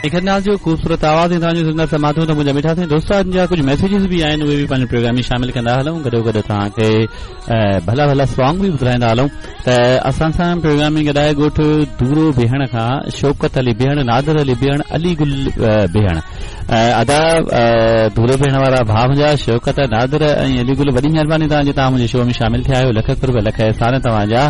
نکت ناز جو خوبصورت آواز ۽ توهان جون سندر سماعتون ته منهنجا مٺا سائين دوستن جا ڪجهه ميسيجز به آهن اهي به پنهنجي پروگرام ۾ شامل ڪندا هلون گڏو گڏ توهان کي ڀلا ڀلا سانگ به ٻڌرائيندا هلون ته اسان سان پروگرام ۾ گڏ آهي ڳوٺ دورو بيهڻ کان شوڪت علي بيهڻ نادر علي بيهڻ علي گل بيهڻ ادا دورو بيهڻ وارا ڀاء منهنجا شوڪت نادر ۽ علي گل وڏي مهرباني توهان جي توهان منهنجي شو ۾ شامل ٿيا آهيو لک قرب لک احسان توهان جا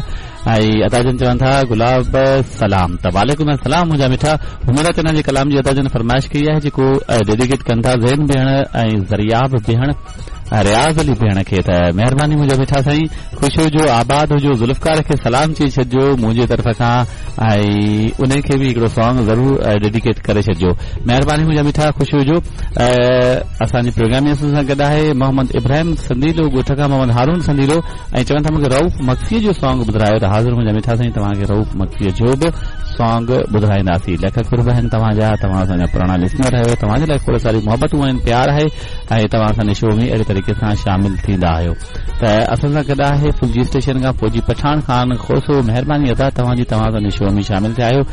۽ ادا جن چون ٿا گلاب سلام ته وعليڪم السلام منهنجا مٺا حميرا چنا جي ڪلام جي ادا جن فرمائش ڪئي آهي جيڪو ڊيڊيڪيٽ ڪن ٿا زين بيهڻ ۽ زرياب بيهڻ رياض علي بيهڻ کي ته مهرباني منهنجا مٺا سائين خوش هجو آباد هجو ذوالفقار کي سلام چئي ڇڏجو منهنجي طرف کان ۽ انهي کي به هڪڙو سانگ ضرور ڊيڊيڪيٽ ڪري ڇڏجو مهرباني منهنجا مٺا خوش هجو اسان جي پروگرام ۾ اسان سان گڏ آهي محمد ابراهيم سنديلو ڳوٺ کان محمد هارون سنديلو ۽ چون ٿا مونکي رئوف مگسيء جو سانگ ٻڌرايو ته حاضر منهنجا مٺا سائين توهان کي رئوف مگسيء جو به سانگ ٻڌرائينداسين لک قرب آهن توهان جا توهان اسان جا پراڻا لسنر آهيو توهان جي لاء کوڙ ساري محبتون آهن پيار آهي ۽ توهان اسان جي شو ۾ اهڙي طريقي سان شامل ٿيندا آهيو ته اسان سان گڏ آهي ڦلجي اسٽيشن کان فوجي پٺاڻ خان کوسو مهرباني ادا توهان جي توهان اسان جي شو ۾ شامل ٿيا آهيو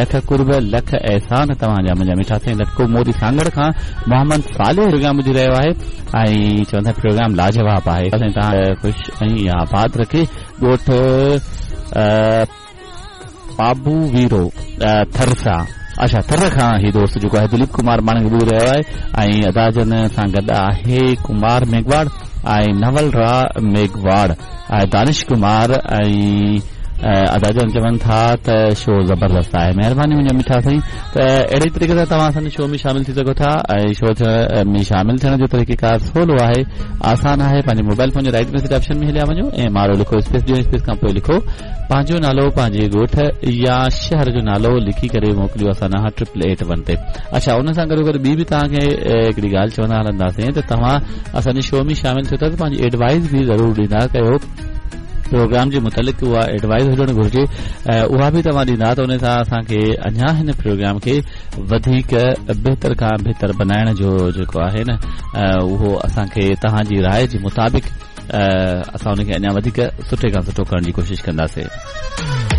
لک قرب لک احسان توهان جا منهنجا مٺا سائين لٽڪو موري سانگهڙ کان محمد صالح پروگرام ٻڌي رهيو آهي ۽ چون ٿا پروگرام لاجواب آهي سائين توهان خوش ۽ آباد رکي ڳوٺ پابو ويرو ٿر سان اڇا ٿر کان هي دوست جيڪو آهي دليپ ڪمار ماڻڪ ٻڌي رهيو آهي ۽ ادا جن سان گڏ آهي ڪمار ميگهواڙ ۽ نول را ميگهواڙ ۽ دانش ڪمار ۽ ادا جن چون ٿا ته شو زبردست آهي مهرباني منهنجا مٺا سائين ته اهڙي طريقي سان توهان اسان جي شو ۾ شامل ٿي سگهو ٿا ۽ شو ۾ شامل ٿيڻ جو طريقه ڪار سولو آهي آسان آهي پنهنجي موبائل فون جي رائٽ ميسج آپشن ۾ هليا وڃو ۽ M R O لکو اسپيس ڏيو اسپيس کان پوء لکو پنهنجو نالو پنهنجي ڳوٺ يا شهر جو نالو لکي ڪري موڪليو اسان ڏانهن ٽرپل ايٽ ون تي اڇا ان سان گڏو گڏ ٻي به توهان کي هڪڙي ڳالهه چوندا هلنداسين ته توهان اسان جي شو ۾ شامل ٿيو ٿا ته پنهنجي ايڊوائز به ضرور ڏيندا ڪيو پروگرام جي متعلق اها ايڊوائز هجڻ گهرجي اها به توهان ڏيندا ته ان سان اسان کي اڃا هن پروگرام کي وڌيڪ بهتر کان بهتر بنائڻ جو جيڪو آهي نه اهو اسان کي توهان جي راء جي مطابق اسان ان کي اڃا وڌيڪ سٺي کان سٺو ڪرڻ جي ڪوشش ڪنداسين.